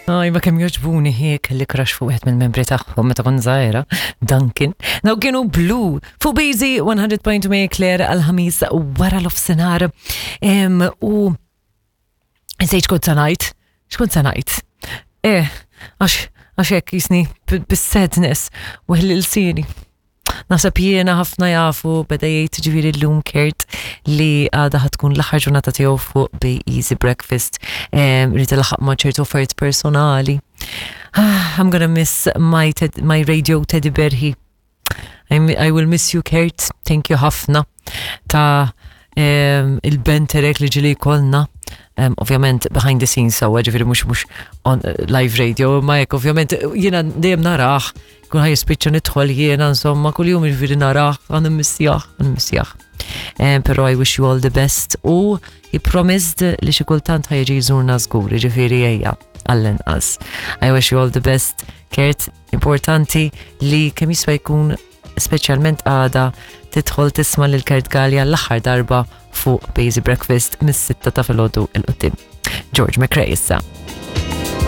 Aj, ma kemm jogħġbuni hi kelli crush fuq wieħed mill-membri tagħhom meta kont żgħira, Duncan. Daw kienu Blue fuq Busy 100.2 Claire għal-ħamis wara l-ofsenar. U nsejt x'kont se ngħid, x'kont se ngħid. Eh, għax għax hekk jisni bis-sadness u l-sieni. Naħseb jiena ħafna jafu beda jgħid ġifieri llum Kurt li għada ħatkun l-aħħar ġurnata tiegħu fuq Be Easy Breakfast. Rrid ilaħħaq ma' ċertu affarijiet personali. Ah, I'm gonna miss my, ted, my radio teddy bear he. I will miss you Kurt, thank you ħafna ta' il-benterek li ġili kolna. Um, ovvjament behind the scenes sawa ġifiri mux mux on eh, live radio, ma jek ovvjament jiena dejjem naraħ Kun ħaj jispiċċa nidħol jiena insomma kuljum jiġifieri narah għan immissjah, għan immissjah. Eh, però I wish you all the best u he promised li xi kultant ħaj jiġi jżurna żgur, jiġifieri ejja għall-inqas. I wish you all the best, Kurt, importanti li kemm jiswa jkun speċjalment għada tidħol tisma' lil Kurt Gallia l-aħħar darba fuq Bazy Breakfast mis-sitta ta' filgħodu il-qudiem. George McRae issa.